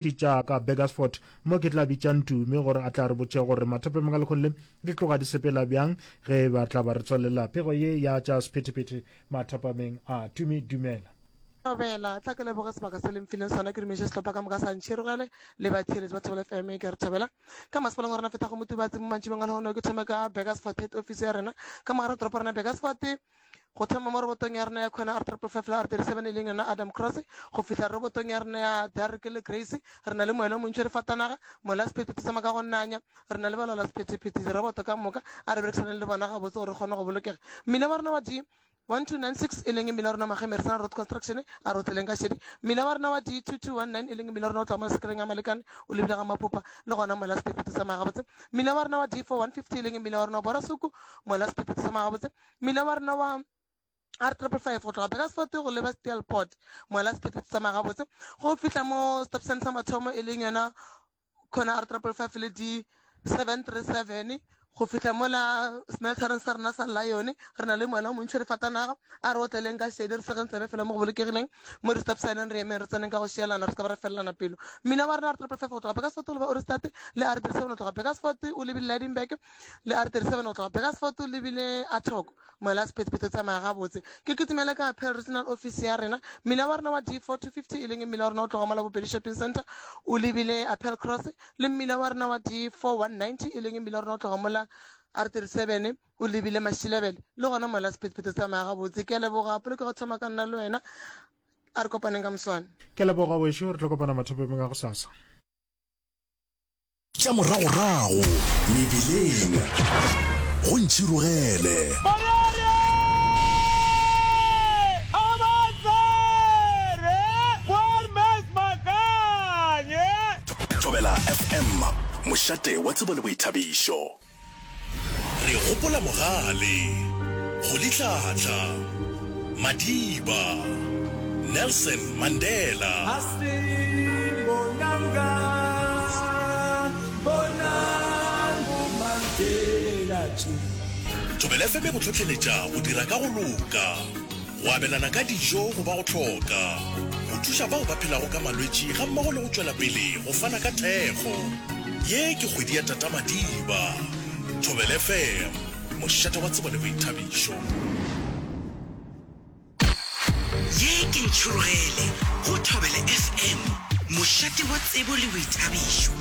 Tša ka Burgersfort mo ke tla bitša Ntumi gore a tla re botše gore mathapemeng a lekgong le di tloga di sepela bjang ge ba tla ba re tswalela pego ye ya tša sephethephethe mathapameng a. Tumi, dumela. Thobela, tla ke leboge sebaka se le mfileng sona ke dumeše sehlopha ka moka sa Ntšhirogele le batheeletši ba Thobela FM ke re thobela ka masepaleng wa rena fetago Motubatse mo mantšibeng a lehono ke thome ka Burgersfort head office ya rena ka mogare toropo rena Burgersfort Go thoma mo robotong ya rena ya khona R555 le R37 e leng yona Adam Cross, go fihla robotong ya rena ya Derek le Grace, re na le moela o montši re fatanaga, moela wa sephethephethe sa maka go nanya, re na le balaola sephethephethe, diroboto ka moka, a re berekisaneng le bona gabotse gore re kgone go bolokega. Mmila wa rena wa D1296 e leng mmila wa rena wa Mageme Resana Road Construction, a re o tseleng ka šedi. Mmila wa rena wa D2219 e leng mmila wa rena o tloga mo sekereng ya Malekane o lebile ga Mapopa, le gona moela wa sephethephethe sa tsamaya gabotse. Mmila wa rena wa D4150 e leng mmila wa rena wa Borasuku, moela wa sephethephethe sa tsamaya gabotse. Mmila wa rena wa R555 go tloga Burgersfort go leba Steelpoort, mola sephethephethe tsamaya gabotse go fihla mo stop sign sa mathomo e leng yona khona R555 le D737 go fihla mola smeltereng sa rena sa Lion re na le moela o montši re fatanaga a re otleleng ka šedi re segeng tsebe fela mo go bolokegileng mo di-stop signeng re emeng re tseneng ka go šielana re se ka ba re felelana pelo. Mmila wa rena R555 go tloga Burgersfort go leba Ohrigstad le R37 go tloga Burgersfort o lebile Lydenburg Le R37 go tloga Burgersfort o lebile Athoko, moela sephethephethe o tsamaya gabotse. Ke kitimele ka Pell Regional Office ya rena. Mmila wa rena wa D4 250 e leng mmila wa rena o tloga mola Bopedi Shopping Centre o lebile Appel Cross le mmila wa rena wa D4 190 e leng mmila wa rena o tloga mola R37 o lebile Mashilebele le gona moela sephethephethe o tsamaya gabotse. Ke a leboga polokego thoma ka nna le wena. A re kopaneng ka moswane. Ke a leboga wešo, re tlo kopana mathapameng a gosasa. Tša moragorago mebileng go ntšhirogele. Thobela FM, mošate wa tsebo le boithabišo. Re gopola Mogale, Rolihlahla, Madiba, Nelson Mandela. Thobela FM e go hlohleletša go dira ka go loka. Go abelana ka dijo go ba go hloka, go thuša bao ba phelago ka malwetši gammogo le go tšwela pele go fana ka thekgo. Ye ke kgwedi ya Tata Madiba. Thobela FM, mošate wa tsebo le boithabišo. Ye ke Ntšhurugele go Thobela FM, mošate wa tsebo le boithabišo.